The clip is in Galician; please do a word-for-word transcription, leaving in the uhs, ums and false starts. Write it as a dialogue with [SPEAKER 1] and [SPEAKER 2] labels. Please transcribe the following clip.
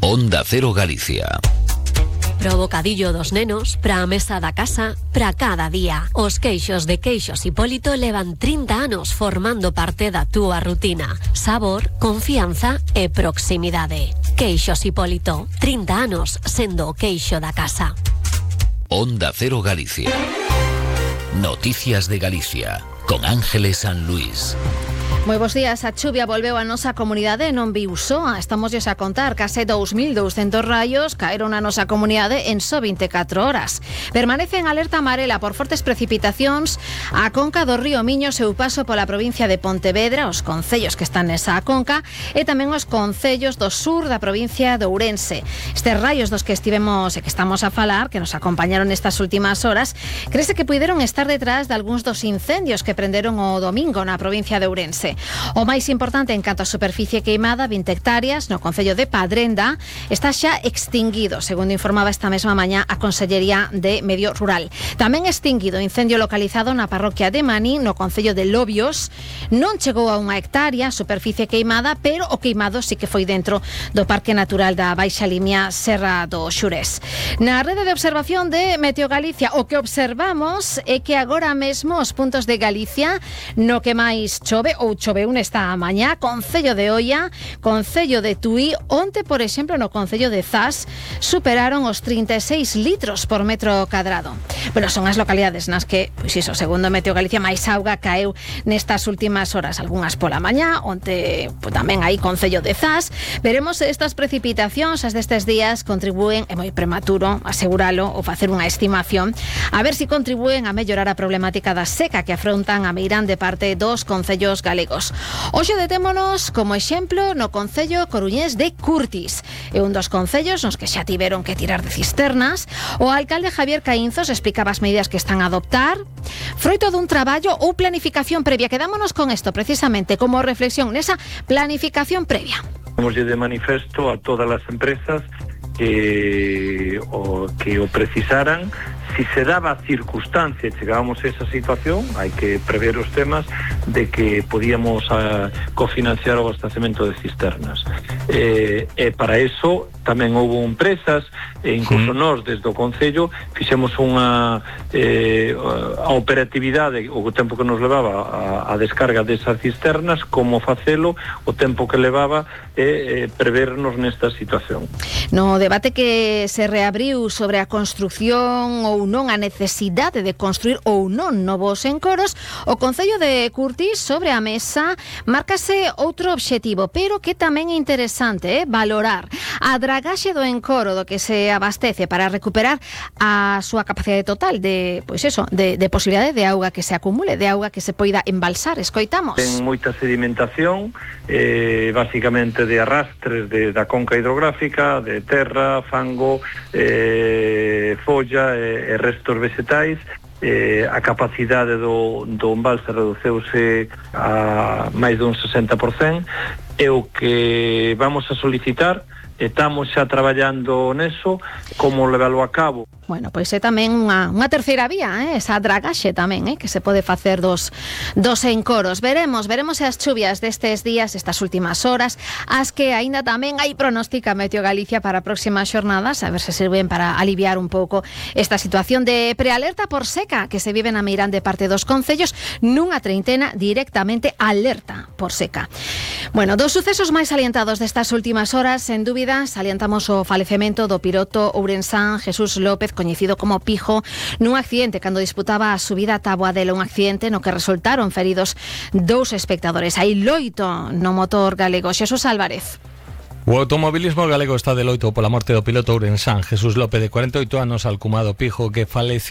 [SPEAKER 1] Onda Cero Galicia.
[SPEAKER 2] Pro bocadillo dos nenos, pra a mesa da casa, pra cada día. Os queixos de Queixos Hipólito levan trinta anos formando parte da túa rutina. Sabor, confianza e proximidade. Queixos Hipólito, trinta anos sendo o queixo da casa.
[SPEAKER 1] Onda Cero Galicia. Noticias de Galicia, con Ángeles San Luis.
[SPEAKER 3] Moi bons días. A chuvia volveu a nosa comunidade e non viu soa. Estamos a contar case dous mil douscentos raios caeron na nosa comunidade en só veinticuatro horas. Permanece en alerta amarela por fortes precipitacións a conca do río Miño, seu paso pola provincia de Pontevedra, os concellos que están nesa conca e tamén os concellos do sur da provincia de Ourense. Estes raios dos que estivemos e que estamos a falar, que nos acompañaron nestas últimas horas, crese que puideron estar detrás de algúns dos incendios que prenderon o domingo na provincia de Ourense. O máis importante en canto a superficie queimada, vinte hectáreas, no concello de Padrenda, está xa extinguido, segundo informaba esta mesma mañá a Consellería de Medio Rural. Tamén extinguido incendio localizado na parroquia de Maní, no concello de Lobios. Non chegou a unha hectárea, superficie queimada, pero o queimado sí que foi dentro do Parque Natural da Baixa Limia Serra do Xurés. Na rede de observación de Meteo Galicia, o que observamos é que agora mesmo os puntos de Galicia no que máis chove ou choveu nesta mañá, concello de Oia, concello de Tui, onte, por exemplo, no concello de Zas, superaron os trinta e seis litros por metro cadrado. Bueno, son as localidades nas que, pois iso, segundo Meteo Galicia, máis auga caeu nestas últimas horas, algunhas pola mañá, onte pues, tamén aí concello de Zas. Veremos se estas precipitacións, as destes días, contribúen, é moi prematuro aseguralo ou facer unha estimación, a ver se si contribúen a mellorar a problemática da seca que afrontan a meirande parte dos concellos galegos. Hoxe detémonos como exemplo no concello coruñés de Curtis. É un dos concellos nos que xa tiveron que tirar de cisternas. O alcalde Javier Caínzos explicaba as medidas que están a adoptar froito dun traballo ou planificación previa. Quedámonos con isto precisamente como reflexión nesa planificación previa.
[SPEAKER 4] Vamos de manifesto a todas as empresas que o, que o precisaran. Si se daba a circunstancia e chegábamos a esa situación, hai que prever os temas de que podíamos a, cofinanciar o abastecemento de cisternas. E, e para eso tamén houve empresas, e incluso mm. nós desde o Concello fixemos unha eh, a operatividade, o tempo que nos levaba a, a descarga desas cisternas, como facelo, o tempo que levaba e eh, prevernos nesta situación.
[SPEAKER 3] No debate que se reabriu sobre a construción ou non a necesidade de construir ou non novos encoros, o Concello de Curtis sobre a mesa márcase outro obxectivo, pero que tamén é interesante, eh, valorar a dragaxe do encoro do que se abastece para recuperar a súa capacidade total de, pois eso, de, de posibilidade de auga que se acumule, de auga que se poida embalsar. Escoitamos.
[SPEAKER 4] Ten moita sedimentación, eh, basicamente de arrastres de, da conca hidrográfica, de terra, fango, eh, folla e eh, restos vegetais. Eh, a capacidade do, do embalse reduceuse a máis dun sesenta por cento. E o que vamos a solicitar, estamos xa traballando neso, como levalo a cabo.
[SPEAKER 3] Bueno, pois é tamén unha, unha terceira vía, eh? Esa dragaxe tamén, eh? Que se pode facer dos, dos encoros. Veremos, veremos as chuvias destes días, estas últimas horas, as que aínda tamén hai pronóstica Meteo Galicia para próximas xornadas, a ver se sirven para aliviar un pouco esta situación de prealerta por seca que se vive na meirande parte dos concellos, nunha treintena directamente alerta por seca. Bueno, dos sucesos máis salientados destas últimas horas, sen dúbida, salientamos o falecemento do piloto ourensán Jesús López, coñecido como Pijo, nun accidente cando disputaba a subida a Taboadela, un accidente no que resultaron feridos dous espectadores. Hai loito no motor galego. Xesús Álvarez.
[SPEAKER 5] O automobilismo galego está de loito pola morte do piloto ourensán Jesús López, de cuarenta e oito anos, alcumado Pijo, que faleceu